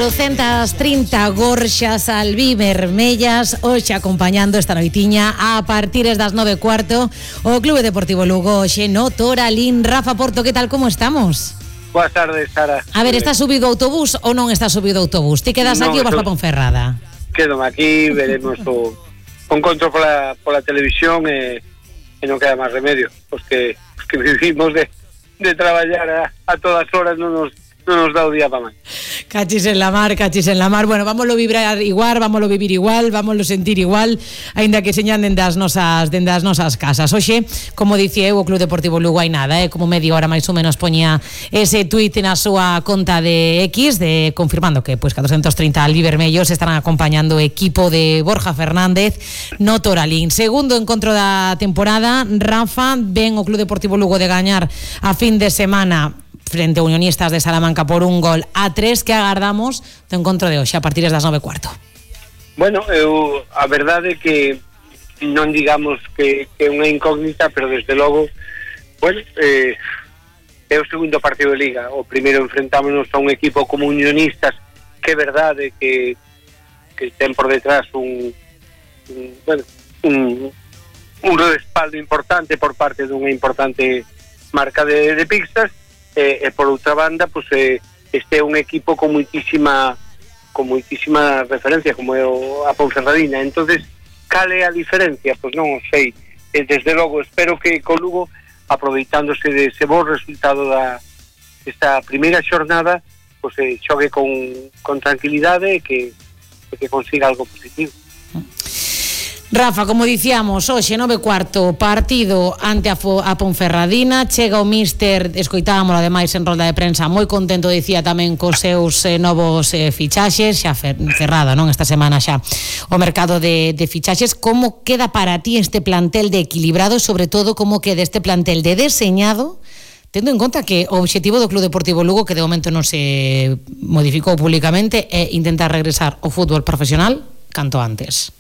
430 gorxas albivermellas hoxe acompañando esta noitiña a partir das 9:15 o Clube Deportivo Lugo hoxe no Toralín. Rafa Porto, que tal, como estamos? Boas tardes, Sara. A ver, estás subido ao autobús ou non estás subido ao autobús? Ti quedas aquí ou vas para Ponferrada? Quedo aquí, veremos o encontro pola televisión e non queda máis remedio, os que vivimos de traballar a todas horas non nos dá o día para máis. Cachis en la mar. Bueno, vámoslo vibrar igual, vámoslo vivir igual, vámoslo sentir igual, aínda que señan dende as nosas casas. Hoxe, como dicía eu, o Club Deportivo Lugo hai nada, como media hora máis ou menos poñía ese tuit na súa conta de X, confirmando que 430 albivermellos estarán acompañando o equipo de Borja Fernández no Toralín. Segundo encontro da temporada, Rafa, ven o Club Deportivo Lugo de gañar a fin de semana frente a Unionistas de Salamanca por 1-3, que agardamos do encontro de hoxe a partir das 9:15. Bueno, a verdade é que non digamos que é unha incógnita, pero desde logo, bueno, é o segundo partido de Liga. O primeiro enfrentámonos a un equipo como Unionistas, que é verdade que ten por detrás un respaldo importante por parte dunha importante marca de pizzas. E por outra banda, pues, este é un equipo con moitísima referencia, como é a Ponferradina. Entonces, cal é a diferencia? Pois non o sei. Desde logo, espero que co Lugo, aproveitándose dese bo resultado desta primeira xornada, pues, xogue con tranquilidade e que consiga algo positivo. Rafa, como dicíamos, hoxe 9:15 partido ante a Ponferradina. Chega o míster, escoitámoslo ademais en rolda de prensa, moi contento, dicía tamén cos seus novos fichaxes, xa cerrada, non, esta semana xa o mercado de fichaxes. Como queda para ti este plantel de equilibrado, sobre todo como queda este plantel de deseñado, tendo en conta que o obxectivo do Club Deportivo Lugo, que de momento non se modificou públicamente, é intentar regresar ao fútbol profesional canto antes?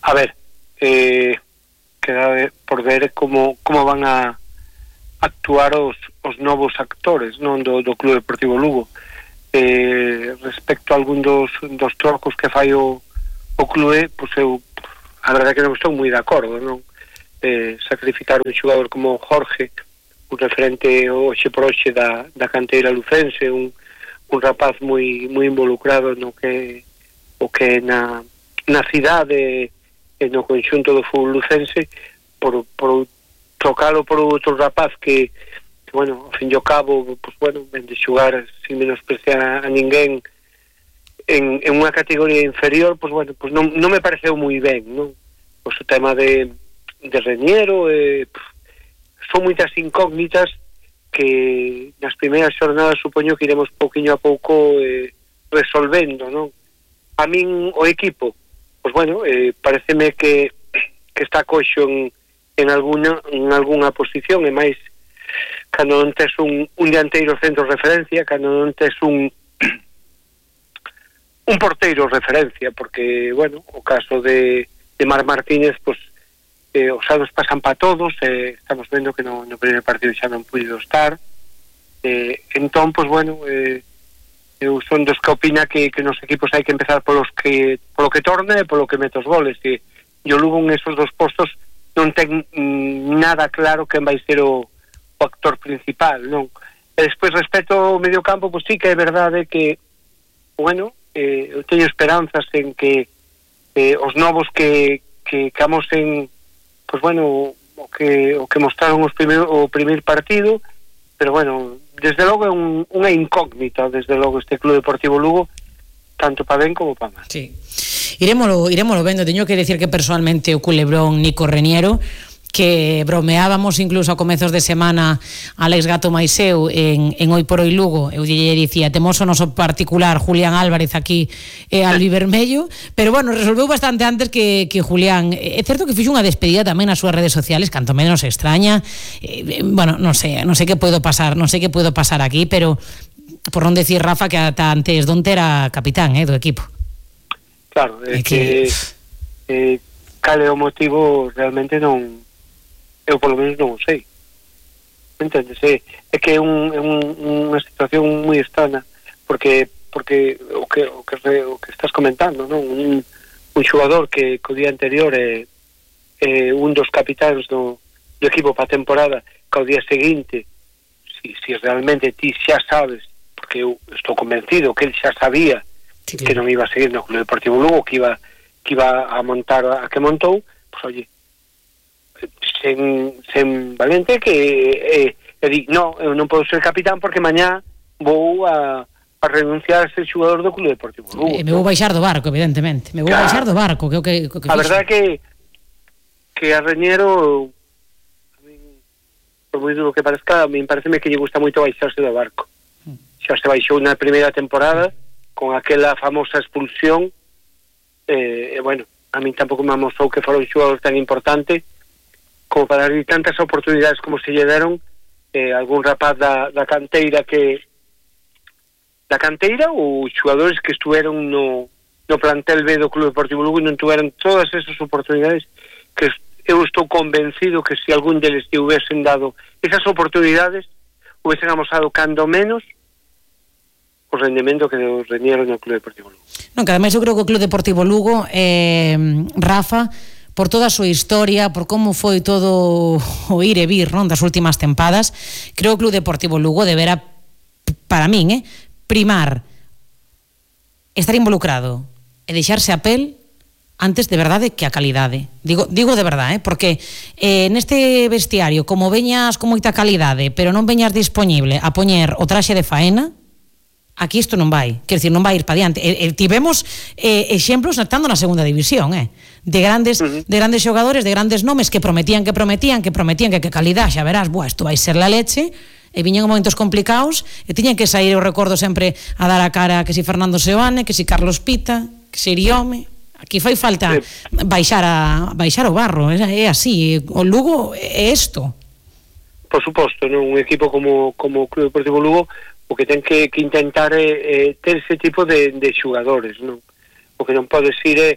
A ver, queda por ver como van a actuar os novos actores, non, do Club Deportivo Lugo. Respecto a algún dos trocos que fai o clube, pois eu a verdade que non estou moi de acordo, non? Sacrificar un xogador como Jorge, un referente hoxe por hoxe da canteira lucense, un rapaz moi involucrado no que na cidade no conxunto do fútbol lucense, por trocalo por outro rapaz que bueno, ao fin e ao cabo, pues, bueno, ven de xugar sin menospreciar a ninguén en unha categoría inferior, pues, bueno, pues non me pareceu moi ben, non? Pues o tema de Reñero, son moitas incógnitas que nas primeiras xornadas supoño que iremos pouquiño a pouco resolvendo, non? A min o equipo, pues bueno, pareceme que está coxo en algunha posición, e máis cando non tes un dianteiro centro referencia, cando non tes un porteiro referencia, porque, bueno, o caso de Mar Martínez, pues os anos pasan para todos, estamos vendo que no primeiro partido xa non puido estar, entón, pues bueno, eu son dos que opina que nos equipos hai que empezar polo que torne e polo que mete os goles, e o Lugo en esos dos postos non ten nada claro quen vai ser o actor principal, non? E despois, respecto ao medio campo, pues sí que é verdade que, bueno, eu teño esperanzas en que os novos que amosen, pues bueno, o que mostraron o primeiro partido, pero bueno, desde logo é unha incógnita, desde logo, este Club Deportivo Lugo, tanto para ben como para mal. Sí. Irémolo vendo. Teño que decir que personalmente o culebrón Nico Reñero, que bromeábamos incluso a comezos de semana Alex Gato Maiseu en Hoy por Hoy Lugo, eu lle dicía, temos o noso particular Julián Álvarez aquí albivermello, pero bueno, resolveu bastante antes que Julián. É certo que fixo unha despedida tamén nas súas redes sociales, canto menos extraña. Bueno, non sei que puedo pasar aquí, pero por non decir, Rafa, que ata antes donte era capitán do equipo. Claro, é que cal é o motivo realmente non, eu polo menos non o sei, entendes? É que é unha situación moi extraña, porque porque o que estás comentando, non? Un xogador que o día anterior é un dos capitáns do equipo para a temporada, que ao día seguinte, si realmente ti xa sabes, porque eu estou convencido que ele xa sabía que non iba a seguir no Club Deportivo Lugo, que iba a montar a que montou, pois oye, sen valente que di, no, eu non podo ser capitán porque mañá vou a renunciar a ser xogador do Club Deportivo Lugo. Me vou baixar do barco, evidentemente. Me vou baixar do barco, que a verdade que a Reñero, por moi duro que parezca, me pareceme que lle gusta moito baixarse do barco. Xa se baixou na primeira temporada con aquela famosa expulsión, bueno, a min tampouco me amosou que fora un xogador tan importante como para dar tantas oportunidades como se lle deron algún rapaz da canteira ou xogadores que estuveron no plantel B do Club Deportivo Lugo e non tuveron todas esas oportunidades, que eu estou convencido que se algún deles te hubiesen dado esas oportunidades, hubiesen amosado cando menos o rendemento que deu Reñero no Club Deportivo Lugo. Non, que ademais eu creo que o Club Deportivo Lugo, Rafa, por toda a súa historia, por como foi todo o ir e vir, non, das últimas tempadas, creo que o Club Deportivo Lugo deberá, para min, primar estar involucrado e deixarse a pel antes de verdade que a calidade. Digo de verdade, porque neste vestiario, como veñas con moita calidade, pero non veñas disponible a poñer o traxe de faena, aquí isto non vai, quer dicir, non vai ir para diante. Tivemos exemplos estando na segunda división, de grandes xogadores, de grandes nomes que prometían que calidad, xa verás, isto vai ser la leche, e viñen momentos complicados e tiñan que sair, eu recordo sempre a dar a cara que si Fernando Seoane, que si Carlos Pita, que si Iriome. Aquí fai falta baixar o barro, é así, o Lugo é isto. Por suposto, non? Un equipo como o Club Deportivo Lugo o que ten que intentar ter ese tipo de xugadores, non? O que non podes ir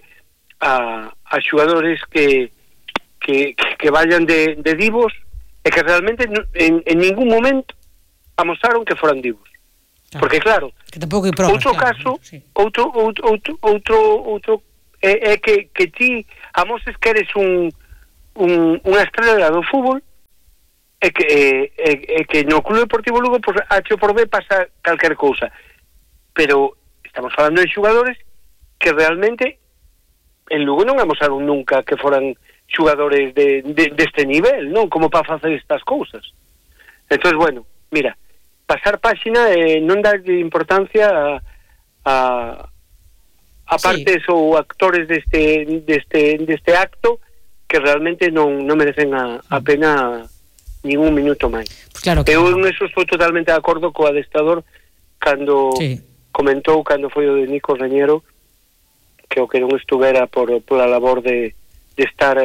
a xogadores que vayan de divos e que realmente en ningún momento amosaron que foran divos. Claro. Porque claro, que tampouco hai probas, outro caso, sí. outro é que ti amoses que eres unha estrela do fútbol e que no Club Deportivo Lugo pues, H por B pasa calquer cousa, pero estamos falando de xogadores que realmente en Lugo non amosaron nunca que foran xogadores deste nivel, non? Como para facer estas cousas. Entonces, bueno, mira, pasar páxina e non dar importancia a partes ou actores deste acto que realmente non merecen a pena ningún minuto máis. Pues claro que eu en eso estou totalmente de acordo co adestrador cando comentou, cando foi o de Nico Reñero, que o que non estuvera pola labor de estar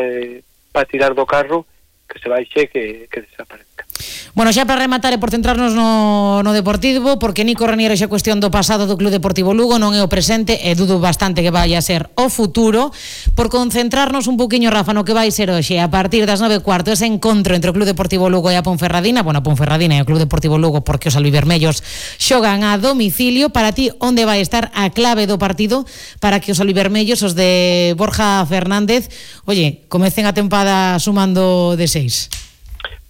para tirar do carro, que se baixe, que desaparezca. Bueno, xa para rematar e por centrarnos no Deportivo, porque Nico Reñero xa cuestión do pasado do Club Deportivo Lugo, non é o presente, e dudo bastante que vai a ser o futuro. Por concentrarnos un poquinho, Rafa, no que vai ser hoxe, a partir das 9:15, ese encontro entre o Club Deportivo Lugo e a Ponferradina. Bueno, a Ponferradina e o Club Deportivo Lugo, porque os albivermellos xogan a domicilio. Para ti, onde vai estar a clave do partido para que os albivermellos, os de Borja Fernández, comecen a tempada sumando de 6?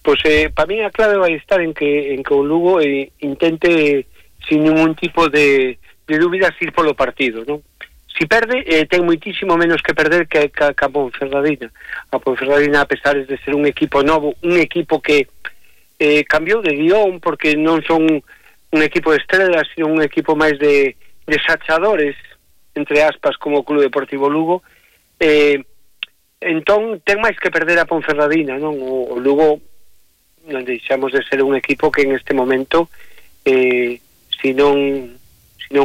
Pois para mí a clave vai estar en que o Lugo intente sin ningún tipo de dúbidas ir polo partido, non? Si perde, ten moitísimo menos que perder que a Ponferradina. A Ponferradina, a pesar de ser un equipo novo, un equipo que cambiou de guión, porque non son un equipo de estrelas, sino un equipo máis de sachadores, entre aspas, como o Club Deportivo Lugo, entón ten máis que perder a Ponferradina, non? O Lugo non deixamos de ser un equipo que en este momento se non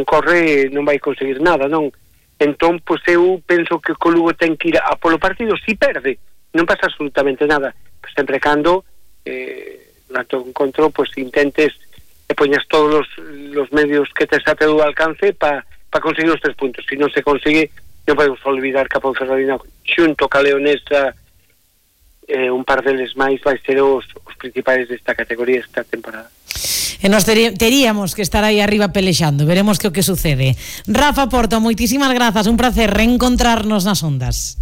corre non vai conseguir nada, non? Entón, pois eu penso que o Lugo ten que ir a polo partido. Si perde, non pasa absolutamente nada, pois sempre cando durante o encontro pois intentes e poñas todos os medios que tes a teu alcance para conseguir os 3 puntos. Si non se consigue, non podemos olvidar que a Ponferradina xunto ca Leonesa, un par deles máis vai ser os principais desta categoría esta temporada. E nos teríamos que estar aí arriba pelexando. Veremos que o que sucede. Rafa Porto, moitísimas grazas, un placer reencontrarnos nas ondas.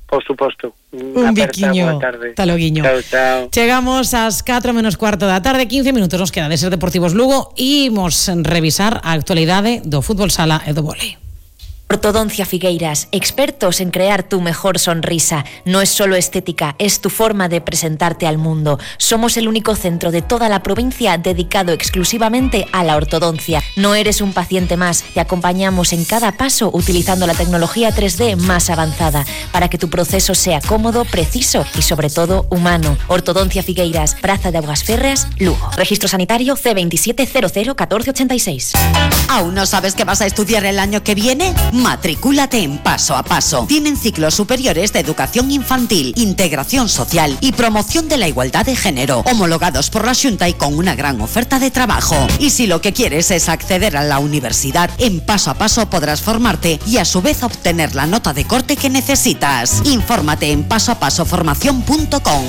Por suposto. Un biquiño. Hasta loguiño. Chao, chao. Chegamos ás 4 menos cuarto da tarde, 15 minutos nos queda de Ser Deportivos Lugo e imos revisar a actualidade do fútbol sala e do vólei. Ortodoncia Figueiras, expertos en crear tu mejor sonrisa. No es solo estética, es tu forma de presentarte al mundo. Somos el único centro de toda la provincia dedicado exclusivamente a la ortodoncia. No eres un paciente más, te acompañamos en cada paso utilizando la tecnología 3D más avanzada para que tu proceso sea cómodo, preciso y sobre todo humano. Ortodoncia Figueiras, Praza de Aguas Férreas, Lugo. Registro sanitario C27001486. ¿Aún no sabes qué vas a estudiar el año que viene? Matricúlate en Paso a Paso. Tienen ciclos superiores de educación infantil, integración social y promoción de la igualdad de género, homologados por la Xunta y con una gran oferta de trabajo. Y si lo que quieres es acceder a la universidad, en Paso a Paso podrás formarte y a su vez obtener la nota de corte que necesitas. Infórmate en pasoapasoformacion.com.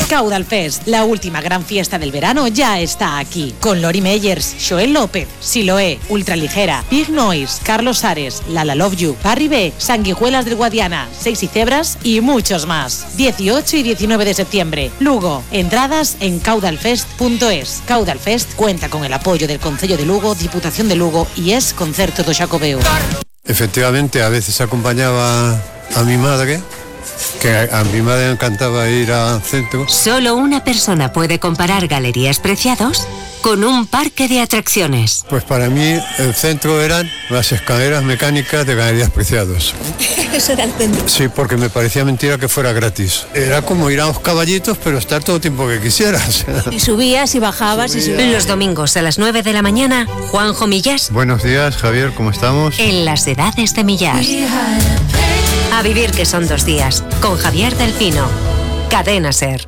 Caudal Fest, la última gran fiesta del verano, ya está aquí. Con Lori Meyers, Joel López, Siloé, Ultraligera, Big Noise, Carlos Ares, Lala Love You, Barry B, Sanguijuelas del Guadiana, Seis y Cebras y muchos más. 18 y 19 de septiembre. Lugo. Entradas en caudalfest.es. Caudal Fest cuenta con el apoyo del Concello de Lugo, Diputación de Lugo y es Concerto do Xacobeo. Efectivamente, a veces acompañaba a mi madre, que a mi madre le encantaba ir al centro. Solo una persona puede comparar Galerías Preciados con un parque de atracciones. Pues para mí el centro eran las escaleras mecánicas de Galerías Preciados. Eso era el centro. Sí, porque me parecía mentira que fuera gratis. Era como ir a los caballitos, pero estar todo el tiempo que quisieras. Y subías y bajabas y subías. Los domingos a las 9 de la mañana, Juanjo Millás. Buenos días, Javier, ¿cómo estamos? En las edades de Millás. A vivir que son 2 días, con Javier del Pino. Cadena Ser.